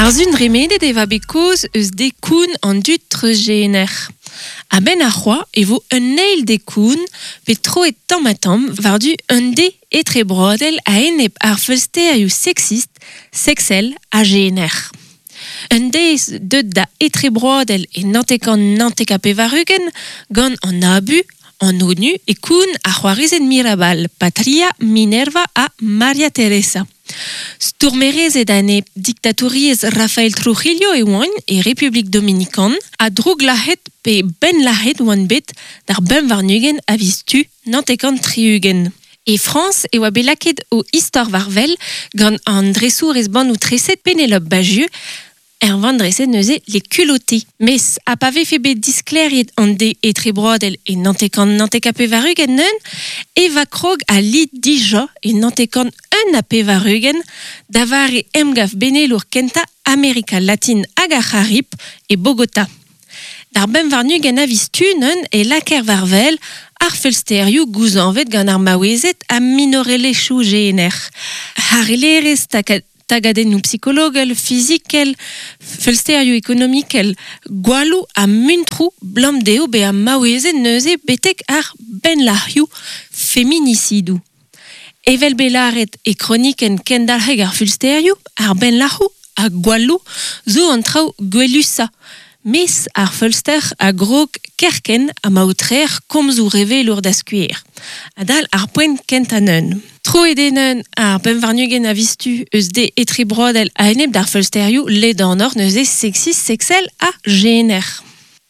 Ar zun dremenet e va bet kaoz eus dekoun an dud treuzjener. A-benn ar c'hoa e vo un eil dekoun bet troet tamm-ha-tamm war-du un de etrebroadel a-enep ar feulsterioù seksist, seksel ha jener. Un deiz deuet da etrebroadel e 1999 gant an ABU, an ONU e koun ar c'hoarezed Mirabal, Patria, Minerva ha Maria Teresa. Stourmerezed anezhe diktatouriezh Rafael Trujillo e oant e Republik Dominikan ha drouglac'het pe bennlac'het oant bet d'ar 25 a viz Tu 79. E Frañs e oa bet lakaet o istor war wel gant an dresourez bannoù-treset Pénélope Bagieu, er vann-dreset neuze Les Culottés. Mes ha pa vefe bet disklêriet an de etrebroadel e 1999 neun, e va krog al lid dija e 1981 da vare emgav benelour kentañ Amerika Latin hag ar C'harib e Bogotá. D'ar 25 a viz Tu neun e lakaer war wel ar feulsterioù gouzañvet gant ar maouezed ha minorelezhioù jener. Harellerezh tagadennoù psikologel, fizikel, feulsterioù ekonomikel, gwalloù ha muntroù 'blam dezho bezañ maouezed neuze betek ar bennlac'hioù feminisidoù. Evel bet lâret e kronikenn Kendalc'heg ar feulsterioù, ar bennlac'hoù ha gwalloù zo an traoù gwelusañ. Mes ar feulster a grog kerkent ha ma aotreer komzoù revelour da skouer. Adal ar poent kentañ neun. Troet eo neun ar 25 a viz Tu eus de etrebroadel a-enep d'ar feulsterioù ledanoc'h neuze seksist, seksel ha jener.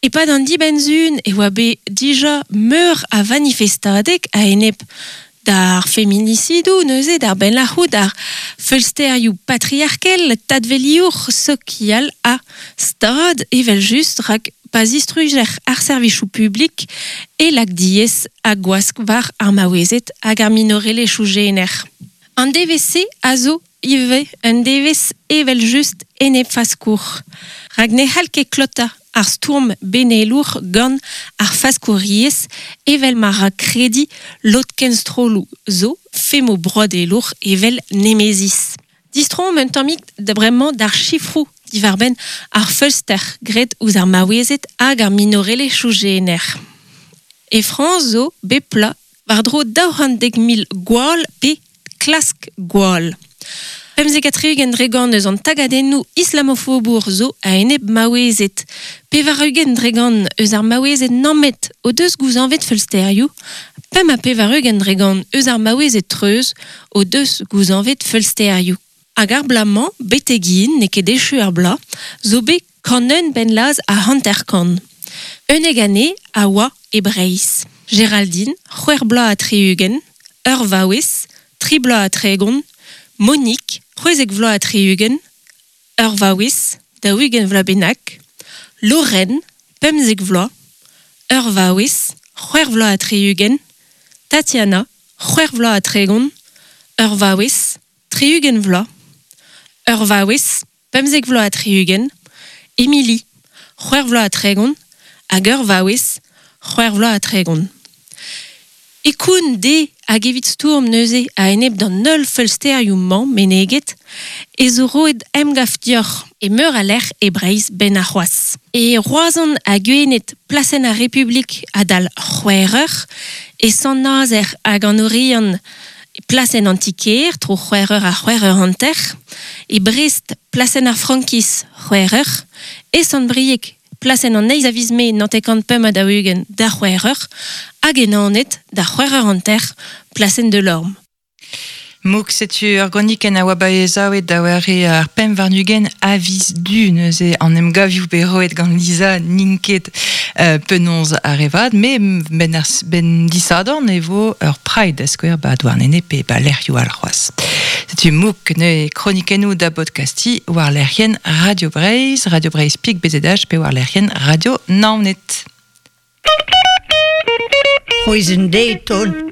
E-pad an dibenn-sizhun e oa bet dija meur a vanifestadeg a-enep d'ar feminisidoù neuze, d'ar bennlac'hoù, d'ar feulsterioù patriarkel, tadveliour, sokial ha stad evel-just, rak pa zistrujer ar servijoù publik e lak diaes ha gwask war ar maouezed hag ar minorelezhioù jener. An devezh-se a zo ivez un devezh evel-just enepfaskour, rak ne c'hall ket klotañ ar stourm benelour gant ar faskouriezh evel ma ra krediñ lod kenstrolloù zo femoù broadelour evel Nemesis. Distroomp un tammig da bremañ d'ar sifroù diwar-benn ar feulster graet ouzh ar maouezed hag ar minorelezhioù jener. E Frañs zo bep bloaz war-dro 210,000 gwall pe klask gwall. 75 dre gant eus an tagadennoù islamofobour zo a-enep maouezed. 80 dre gant eus ar maouezed nammet o deus gouzañvet feulsterioù, 85 dre gant eus ar maouezed treuz o deus gouzañvet feulsterioù. Hag ar bloaz-mañ, betek-hen, n'eo ket echu ar bloaz, zo bet 101 pennlazh ha 50. 11 anezhe a oa e Breizh. Géraldine, c'hwec'h bloaz ha 60, ur vaouez, tri bloaz ha 30, Monique, 16 vloaz ha 60, ur vaouez, 40 vloaz bennak, Lorraine, 15 vloaz, ur vaouez, 6 vloaz ha 60, Tatiana, 6 vloaz ha 30, ur vaouez, 60 vloaz, ur vaouez, 15 vloaz ha 60, Émilie, 6 vloaz ha 30, hag ur vaouez, 6 vloaz ha 30. E koun dezhe hag evit stourm neuze a-enep d'an holl feulsterioù-mañ meneget e zo roet emgav deoc'h e meur a lec'h e Breizh 'benn arc'hoazh. E Roazhon ha Gwened plasenn ar Republik adal c'hwec'h eur, e Sant-Nazer hag an Oriant plasenn an ti-kêr tro c'hwec'h eur ha c'hwec'h eur hanter, e Brest plasenn ar Frankiz c'hwec'h eur, e Sant-Brieg Plasenn an eizh a viz Mae 1945 da c'hwec'h eur hag e Naoned da c'hwec'h eur hanter, plasenn Delorme. Mouk, setu ur gronikenn a oa baezaouet da ware ar 25 a viz Du neuze an emgavioù bet roet gant Lisa n'int ket penaos ar re vat, met benn ar benn disadorn e vo ur Pride da skouer ba Douarnenez pe ba lec'hioù all c'hoazh. Setu Mouk neuze kronikennoù da bodkastiñ war lec'hienn Radio Breizh, Radio Breizh Pik BZH pe war lec'hienn Radio Naoned. C'hwezh deiz taol.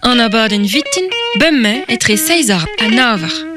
An abadenn vitin, bemdez etre seizh eur ha nav eur.